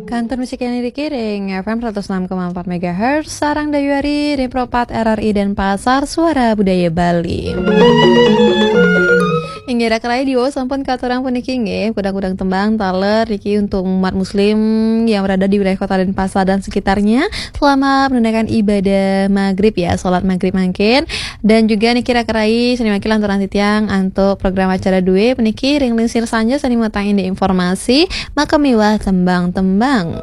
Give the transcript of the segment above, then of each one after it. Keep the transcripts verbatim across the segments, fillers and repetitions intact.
Kantor musik yang dikiring F M seratus enam koma empat megahertz, Sarang Dayuari, Repropat R R I Denpasar, Suara Budaya Bali. Inggih, raka rayi, diwau sampun katurang puniki nggih, kudang-kudang tembang taler niki untuk umat muslim yang berada di wilayah Kota Denpasar dan sekitarnya selama menunaikan ibadah maghrib ya, salat maghrib mangkin. Dan juga niki raka rayi, sani mangkin lanturang titiang antuk program acara duwe puniki ring lingsir sanja sani matang indik informasi maka miwah tembang-tembang.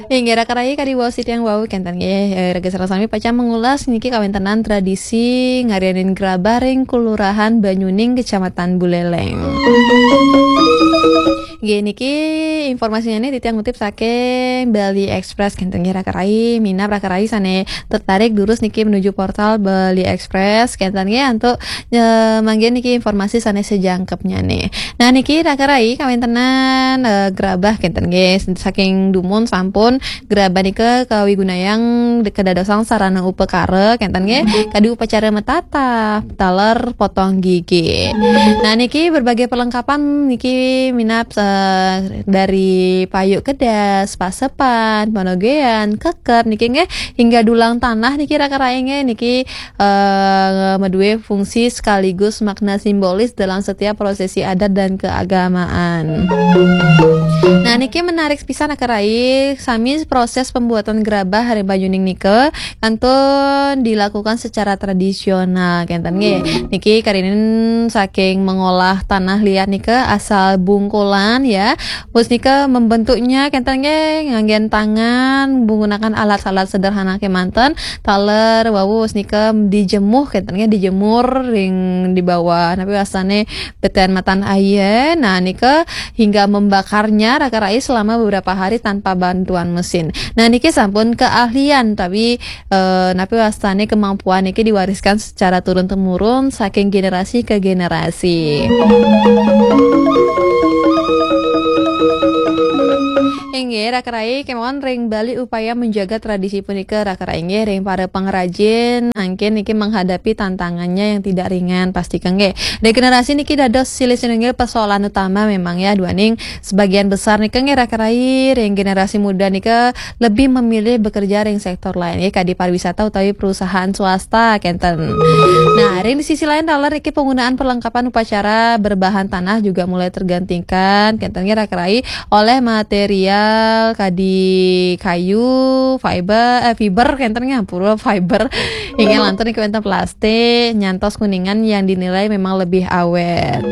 Inggih, raka rayi, kadi wau sitiang wau kenten nggih, eh, raga sareng sami pacang mengulas niki kawentenan tradisi ngarianin grabah ring Kelurahan Banyuning, Kecamatan Buleleng. Nggih, niki informasinya nih titiang ngutip saking Bali Express kenten nggih, raka rayi, minab raka rayi sane tertarik durus niki menuju portal Bali Express kenten nggih, antuk, eh, manggihin niki informasi sane sejangkepnya nih. Nah, niki raka rayi kawentenan, eh, grabah kenten nggih, saking dumun sampun grabah nika kawigunayang de-, kedadosang sarana upakara kenten nggih, kadi upacara metatah, taler potong gigi. Nah, niki berbagai perlengkapan niki minab, eh, dari payuk kedas, pasepan, panogean, kekep niki nggih, hingga dulang tanah niki raka rayi nggih, niki, eh, madue fungsi sekaligus makna simbolis dalam setiap prosesi adat dan keagamaan. Nah, niki menarik pisan raka rayi, sami proses pembuatan grabah ring Banyuning nika kantun dilakukan secara tradisional kenten nggih. Niki karinin saking mengolah tanah liat nika asal bungkulan ya. Wus nika membentuknya kenten nggih nganggen tangan menggunakan alat-alat sederhana kemanten, taler wau wus nika dijemuh kenten nggih, dijemur ring di bawah. Napi wastane beten matan aye. Nah, nika hingga membakarnya raka rayi selama beberapa hari tanpa bantuan mesin. Nah, niki sampun keahlian tapi, eh, napi wastane kemampuan niki diwariskan secara turun temurun saking generasi ke generasi. Inggih, raka rayi, kemawon ring Bali upaya menjaga tradisi punika raka rayi nggih, ring para pengrajin mangkin niki menghadapi tantangannya yang tidak ringan pasti nggih. Regenerasi niki dados silih sinunggil persoalan utama memang ya, duaning sebagian besar nika nggih raka rayi ring generasi muda nika lebih memilih bekerja ring sektor lain nggih, kadi pariwisata utawi perusahaan swasta kenten. Nah, ring di sisi lain taler niki penggunaan perlengkapan upacara berbahan tanah juga mulai tergantikan kenten nggih raka rayi oleh material kadi kayu, fiber, eh, fiber kenten nggih, ampura, fiber. Inggih, lantur niki wenten plastik, nyantos kuningan yang dinilai memang lebih awet.